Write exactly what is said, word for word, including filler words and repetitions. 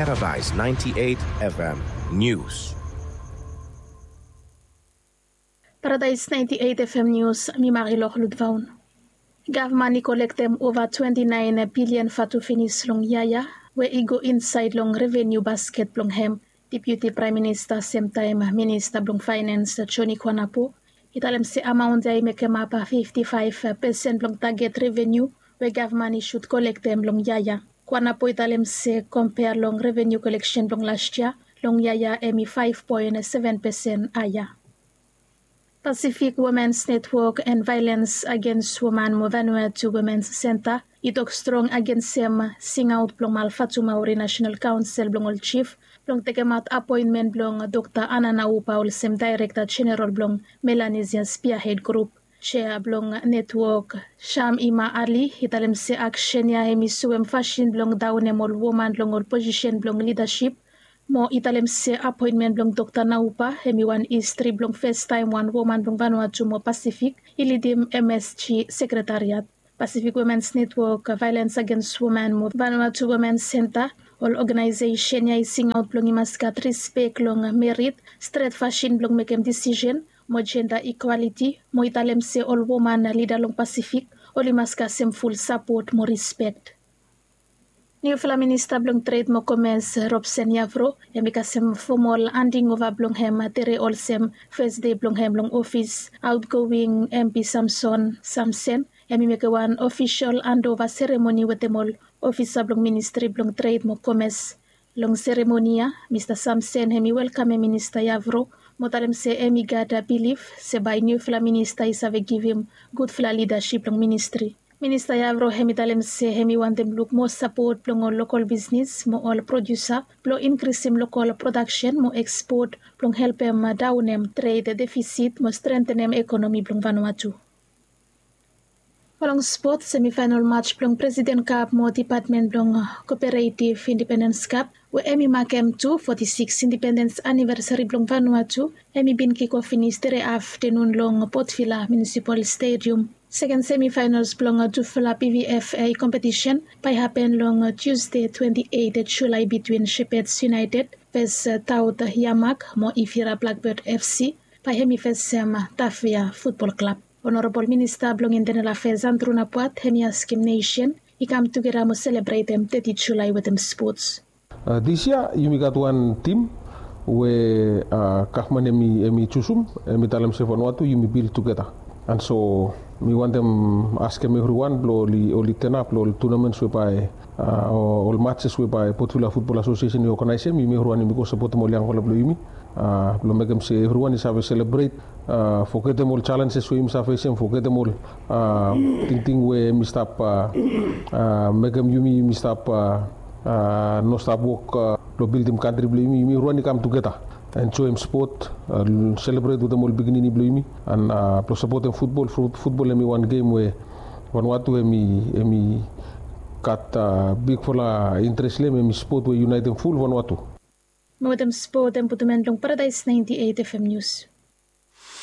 Paradise ninety-eight F M News. Paradise ninety-eight F M News, mi Marilor Ludvaun. Gavman i kolektem ova twenti naen bilian vatu finis long yia ya we i go insaed long revenu basket blong hem. Deputi Praem Minista semtaem Minista blong Faenens Joni Kwanapo i talem se amaon ya i mekemap fifti faef pesen blong taget revenu we gavman i sud kolektem long yia ya. Kwanapo i talem se kompea long revenu koleksen blong las yia, long yia ya hem i faef poen seven pesen haea. Pasifik Womens Netwok en Vaelens Agens Woman mo Vanuatu Womens Senta i tok strong agensem singaot blong Malvatumauri Nasenal Kaonsel blong ol Jif blong tekemaot apoenmen blong Dokta Anna Naupa olsem Daerekta Jeneral blong Melanisia Spiahed Grup. Jea blong netwok Sam Ima Ali i talem se aksen ya hem i soem fasin blong daonem ol woman long ol posisen blong lidasip. Mo i talem se apoenmen blong Dokta Naupa hem i wan histri blong festaem wan woman blong Vanuatu mo Pasifik i lidim M S G sekretariat. Pasifik Womens Netwok, Vaelens Agens Woman mo Vanuatu Women Senta, ol oganaesesen ya i singaot blong i mas gat rispek long merit, stret fasin blong mekem disisen mo jenda ikwaliti, mo i talem se ol woman lida long Pasifik oli mas kasem ful sapot mo rispek. Niufala Minista blong Tred mo Komes Robsen Yavro hem i kasem fomol andingova blong hem tere olsem fes dei blong hem long ofis. Aotgoing M P Samson Samsen hem i mekem wan ofisol andova seremoni wetem ol ofisa blong Ministri blong Tred mo Komes. Long seremoni ya Mista Samsen hem i welkamem Minista Yavro mo talem se hem i gat bilif se bae niufala minista i save givim gudfala lidasip long ministri. Minista Yavro hem i talem se hem i wantem luk moa sapot blong ol lokol bisnis mo ol produsa blong inkrisim lokol prodaksen mo ekspot blong helpem daonem tred defisit mo strentenem ekonomi blong Vanuatu. Mo long spot, semifaenol mats blong Presiden Kap mo Depatmen blong Koperetiv Indipendens Kap we hem i makem tu foti sikis indipendens anivesari blong Vanuatu hem i bin kikof finis tere aftenun long Potvila Munisipal Stedium. Seken semifaenols blong tufala P V F A kompetisen bae hapen long Tusde twenti eit Julae bitwin Shepherds United ves Taut Yamak mo Ifira Blakbed F C bae hem i fesem Tafea Futbol Klab. Onorabol Minista blong Intenel Afeas Andru Napuat hem i askem nesen i kam tugeta mo selebretem teti Julae wetem spots. Dis yia yumi gat wan tim we gavman hem i jusum, hem i talem se Vanuatu yumi bil tugeta. And so mi wantem askem evriwan blong oli tenap long ol tunamens we bae ol matses we bae Potvila Futbol Asosiesen i oganaesem, yumi evriwan yumi go sapotem ol yangfala blong yumi blong mekem se evriwan i save selebret, fogetem ol jalenjes we yumi save fesem, fogetem ol tingting we yumi stap mekem yumi yumi stap no stap wok blong bildim kantri blong yumi. Yumi evriwan i kam tugeta, enjoem spot, selebret wetem ol pikinini blong yumi, and blong sapotem futbol. Futbol hem i wan gem we Vanuatu hem i gat bigfala interes long hem. Hem i spot we yunaetem ful Vanuatu. Mo wetem spot hem putum en long Paradaes naenti eit F M Nius.